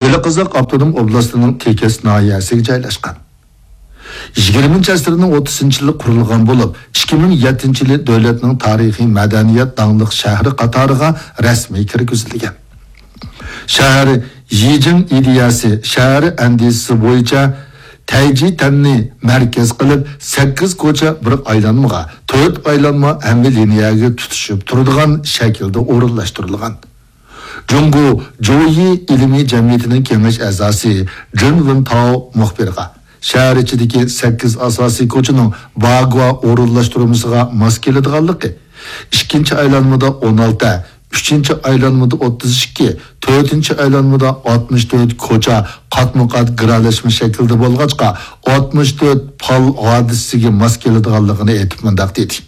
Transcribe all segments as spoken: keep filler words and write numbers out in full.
بېلىققازاق ئاپتونوم ئوبلاستىنىڭ تېكەس ناھىيەسىگە جايلاشقان. يىگىرمىنچى ئەسىرنىڭ ئوتتۇزىنچى يىلى قۇرۇلغان بولۇپ، ئىككى مىڭ يەتتىنچى يىلى دۆلەتنىڭ تارىخىي مەدەنىيەت داڭلىق شەھىرى قاتارىغا رەسمىي كىرگۈزۈلگەن. شەھەر يىجىڭ ئىدىيەسى، شەھەر ئەندىزىسى بويىچە تەيجىتەننى مەركەز قىلىپ، سەككىز كوچا بىر ئايلانمىغا، تۆت ئايلانما ھەممە لىنىيەگە تۇتىشىپ تۇرىدىغان شەكىلدە ئورۇنلاشتۇرۇلغان. جۇڭگو جويى ئىلمىي جەمئىيىتىنىڭ كېڭەش ئەزاسى جېن ۋېنتاۋ مۇخبىرغا، شەھەر ئىچىدىكى سەككىز ئاساسىي كوچىنىڭ باگۇا ئورۇنلاشتۇرمىسىغا ماس كېلىدىغانلىقى، ئىككىنچى ئايلانمىدا ئون ئالتە، ئۈچىنچى ئايلانمىدا ئوتتۇز ئىككى، تۆتىنچى ئايلانمىدا ئاتمىش تۆت كوچا قاتمۇ قات گىرەلەشمە شەكلىدە بولغاچقا، ئاتمىش تۆت پال ھادىسىسىگە ماس كېلىدىغانلىقىنى ئېيتىپ مۇنداق دېدى.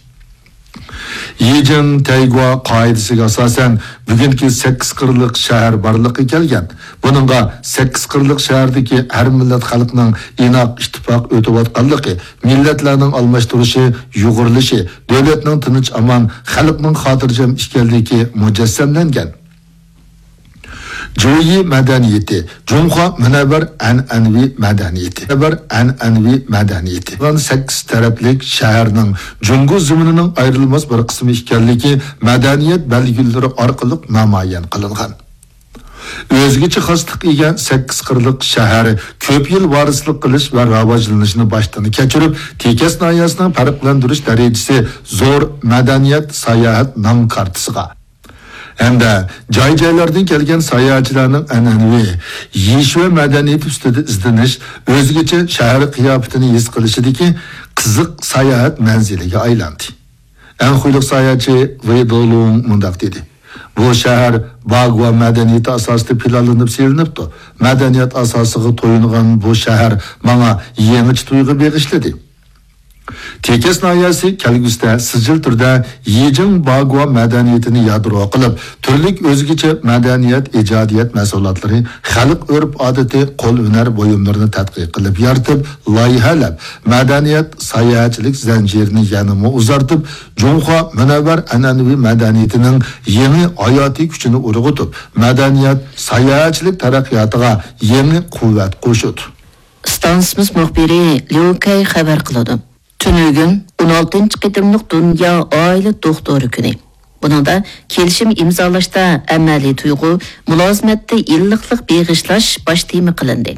يىجىڭ تەيگۇا قائىدىسىگە ئاساسەن، بۈگۈنكى سەككىز قىرلىق شەھەر بارلىققا كەلگەن. بۇنىڭغا سەككىز قىرلىق شەھەردىكى ھەر مىللەت خەلقنىڭ ئىناق، ئىتتىپاق ئۆتۈۋاتقانلىقى، مىللەتلەرنىڭ ئالماشتۇرۇشى، يۇغۇرۇلۇشى، دۆلەتنىڭ تىنچ-ئامان، خەلقنىڭ خاتىرجەم ئىكەنلىكى مۇجەسسەملەنگەن. جۇيى مەدەنىيىتى، جۇڭخۇا مۇنەۋۋەر ئەنئەنىۋى مەدەنىيىتى، مۇنەۋۋەر ئەنئەنىۋى مەدەنىيىتى. سەككىز تەرەپلىك شەھەرنىڭ جۇڭگو زېمىنىنىڭ ئايرىلماس بىر قىسمى ئىكەنلىكى مەدەنىيەت بەلگىلىرى ئارقىلىق نامايان قىلىنغان. ئۆزگىچە خاسلىققا ئىگە سەككىز قىرلىق شەھەر كۆپ يىل ۋارىسلىق قىلىش ۋە راۋاجلىنىشنى باشتىن كەچۈرۈپ، تېكەس ناھىيەسىنىڭ پەرقلەندۈرۈش دەرىجىسى زور مەدەنىيەت ساياھەت نام كارتىسىغا ھەمدە جاي-جايلاردىن كەلگەن ساياھەتچىلەرنىڭ ئەنئەنىۋى يىشۇە مەدەنىيىتى ئۈستىدە ئىزدىنىش، ئۆزگىچە شەھەر قىياپىتىنى ھېس قىلىشىدىكى قىزىق ساياھەت مەنزىلىگە ئايلاندى. ئەنخۇيلۇق ساياھەتچى ۋېي دولۇڭ مۇنداق دېدى: «بۇ شەھەر باگۇا مەدەنىيىتى ئاساسىدا پىلانلىنىپ سېلىنىپتۇ. مەدەنىيەت ئاساسىغا تويۇنغان بۇ شەھەر ماڭا يېڭىچە تۇيغۇ بېغىشلىدى.» تېكەس ناھىيەسى كەلگۈسىدە سىجىل تۈردە يىجىڭ باگۇا مەدەنىيىتىنى يادرو قىلىپ، تۈرلۈك ئۆزگىچە مەدەنىيەت، ئىجادىيەت مەھسۇلاتلىرى، خەلق ئۆرپ-ئادىتى، قول ھۈنەر بۇيۇملىرىنى تەتقىق قىلىپ يارىتىپ، لايىھەلەپ، مەدەنىيەت، ساياھەتچىلىك زەنجىرىنى يەنىمۇ ئۇزارتىپ، جۇڭخۇا مۇنەۋۋەر ئەنئەنىۋى مەدەنىيىتىنىڭ يېڭى ھاياتىي كۈچىنى ئۇرغۇتۇپ، مەدەنىيەت، ساياھەتچىلىك تەرەققىياتىغا يېڭى قۇۋۋەت قوشىدۇ. ئىستانسىمىز مۇخبىرى ليۇ كەي خەۋەر قىلىدۇ. تۈنۈگۈن ئون ئالتىنچى قېتىملىق دۇنيا ئائىلە دوختۇرى كۈنى. بۇنىڭدا كېلىشىم ئىمزالاشتا ئەمەلىي تۇيغۇ، مۇلازىمەتتە ئىللىقلىق بېغىشلاش باش تېما قىلىندى.